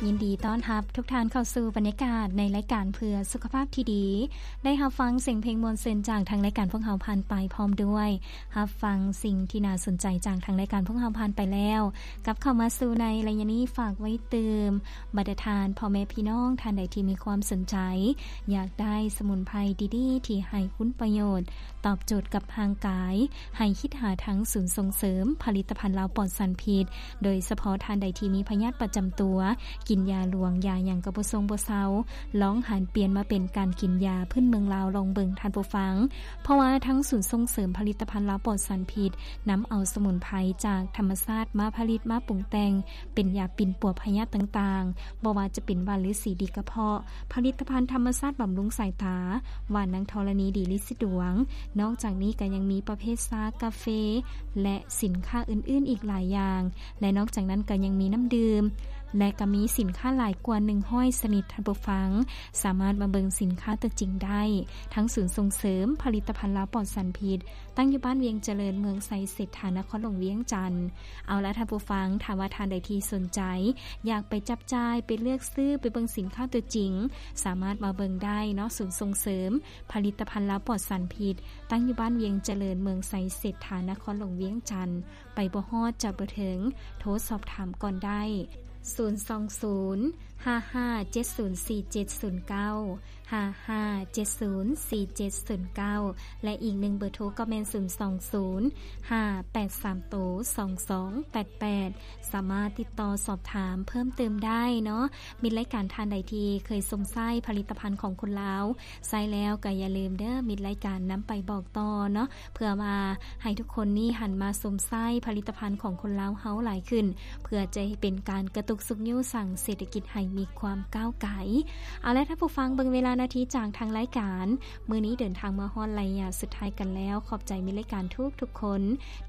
ຍິນດີຕ້ອນຮັບທຸກທ່ານເຂົ້າສູ່ບັນຍາກາດໃນລາຍການເພື່ອສຸຂະພາບທີ່ດີ. ໄດ້ຮັບຟັງສຽງເພງມ່ວນຊື່ນຈາກທາງລາຍການພວກເຮົາຜ່ານໄປ ພ້ອມດ້ວຍຮັບຟັງສິ່ງທີ່ໜ້າສົນໃຈຈາກທາງລາຍການພວກເຮົາຜ່ານໄປແລ້ວ. ກັບເຂົ້າມາສູ່ໃນໄລຍະນີ້ ຝາກໄວ້ຕື່ມບັນດາທ່ານພໍ່ແມ່ພີ່ນ້ອງທ່ານໃດທີ່ມີຄວາມສົນໃຈ ຢາກໄດ້ສະໝຸນໄພດີໆທີ່ໃຫ້ຄຸນປະໂຫຍດ ຕອບໂຈດກັບຮ່າງກາຍ ໃຫ້ຄິດຫາທາງສູນສົ່ງເສີມຜະລິດຕະພັນລາວປອດສານພິດ, ໂດຍສະເພາະທ່ານໃດທີ່ມີພະຍາດປະຈຳຕົວ, ກິນຢາຫຼວງຢາຫຍັງກໍບໍ່ຊົງບໍ່ເຊົາ, ລອງຫັນປ່ຽນມາເປັນການກິນຢາພື້ນເມືອງລາວລອງເບິ່ງທ່ານຜູ້ຟັງ. ເພາະວ່າທາງສູນສົ່ງເສີມຜະລິດຕະພັນລາວປອດສານພິດ ນຳເອົາສະໝຸນໄພຈາກທຳມະຊາດມາຜະລິດມາປຸງແຕ່ງ ເປັນຢາປິ່ນປົວພະຍາດຕ່າງໆ, ບໍ່ວ່າຈະເປັນຫວ່ານລືສີດີກະເພາະ, ຜະລິດຕະພັນທຳມະຊາດບຳລຸງສາຍຕາ, ຫວ່ານນາງທໍລະນີດີລິດສິດວງ. ນອກຈາກນີ້ກໍຍັງມີປະເພດຊາ, ກາເຟ ແລະ ສິນຄ້າອື່ນໆອີກຫຼາຍຢ່າງ. ແລະ ນອກຈາກນັ້ນກໍຍັງມີນ້ຳດື່ມ ແລະ ກໍມີສິນຄ້າຫຼາຍກວ່າໜຶ່ງຮ້ອຍຊະນິດ. ທ່ານຜູ້ຟັງສາມາດມາເບິ່ງສິນຄ້າຕົວຈິງໄດ້ ທາງສູນສົ່ງເສີມຜະລິດຕະພັນລາວປອດສານພິດ ຕັ້ງຢູ່ບ້ານວຽງຈະເລີນ ເມືອງໄຊເສດຖາ ນະຄອນຫຼວງວຽງຈັນ. ເອົາລະທ່ານຜູ້ຟັງ, ຖ້າວ່າທ່ານໃດທີ່ສົນໃຈ ຢາກໄປຈັບຈ່າຍ, ໄປເລືອກຊື້, ໄປເບິ່ງສິນຄ້າຕົວຈິງ, ສາມາດມາເບິ່ງໄດ້ເນາະ. ສູນສົ່ງເສີມຜະລິດຕະພັນລາວປອດສານພິດ ຕັ້ງຢູ່ບ້ານວຽງຈະເລີນ ເມືອງໄຊເສດຖາ ນະຄອນຫຼວງວຽງຈັນ. ໄປບໍ່ຮອດ ຈອດບໍ່ເຖິງ, ໂທສອບຖາມກ່ອນໄດ້ ສູນສອງສູນ ຫ້າຫ້າເຈັດສູນ ສີ່ເຈັດສູນເກົ້າ ຫ້າຫ້າເຈັດສູນ ສີ່ເຈັດສູນເກົ້າ ແລະ ອີກໜຶ່ງເບີໂທກໍແມ່ນ ສູນສອງສູນ ຫ້າແປດສາມໂຕ ສອງສອງແປດແປດ ສາມາດຕິດຕໍ່ສອບຖາມເພີ່ມເຕີມໄດ້ເນາະ. ມິດລາຍການທ່ານໃດທີ່ເຄີຍຊົມໃຊ້ຜະລິດຕະພັນຂອງຄົນລາວ ໃຊ້ແລ້ວກໍຢ່າລືມເດີ້ ມິດລາຍການນຳໄປບອກຕໍ່ເນາະ ເພື່ອວ່າໃຫ້ທຸກຄົນນີ້ຫັນມາຊົມໃຊ້ຜະລິດຕະພັນຂອງຄົນລາວເຮົາຫຼາຍຂຶ້ນ ເພື່ອຈະໃຫ້ເປັນການກະຕຸກຊຸກຍູ້ສ້າງເສດຖະກິດໃຫ້ມີຄວາມກ້າວໄກ. ເອົາລະທ່ານຜູ້ຟັງ, ເບິ່ງເວລານາທີຈາກທາງລາຍການ ມື້ນີ້ເດີນທາງມາຮອດໄລຍະສຸດທ້າຍກັນແລ້ວ. ຂອບໃຈມິດລາຍການທຸກໆຄົນ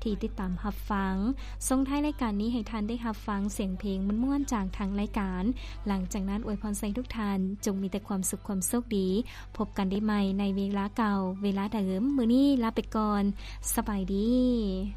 ທີ່ຕິດຕາມຮັບຟັງ. ສົ່ງທ້າຍລາຍການນີ້ໃຫ້ທ່ານໄດ້ຮັບຟັງສຽງເພງມ່ວນໆຈາກທາງລາຍການ. ຫຼັງຈາກນັ້ນອວຍພອນໃຫ້ທຸກທ່ານຈົ່ງມີແຕ່ຄວາມສຸກຄວາມໂຊກດີ. ພົບກັນໄດ້ໃໝ່ໃນເວລາເກົ່າເວລາເດີມ. ມື້ນີ້ລາໄປກ່ອນ. ສະບາຍດີ.